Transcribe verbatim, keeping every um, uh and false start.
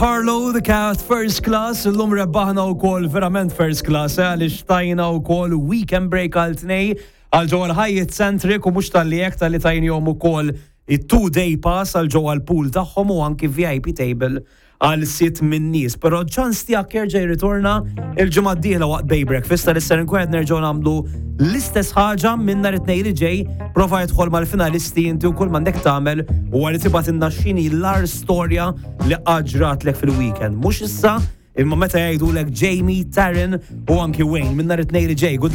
Carlo, the Cat, First Class, illum rebbaħna wkoll verament first class, eh, għaliex tajna wkoll weekend break għal tnejn għal ġewwa l-Hyatt Centric u mhux talli hekk talli tajnihom ukoll it-two day pass għal ġewwa l-pool tagħhom u anki VIP table għal sitt minn nies. Però ċans tiegħek jerġa' jirritorna il-ġimgħa d-dieħla waqt Bay Breakfast tal ser nkun qed nerġgħu nagħmlu l-istess ħaġa minn nhar it-tnejn li ġej, prova jidħol mal-finalisti inti u kull m'għandek tagħmel u għal tibgħatilna x'inhi l-agħar storja li ġratlek fil-weekend. Mhux issa imma meta jgħidulek Jamie, Taryn u anki Wayne minn nhar it-tnejn li ġej. Good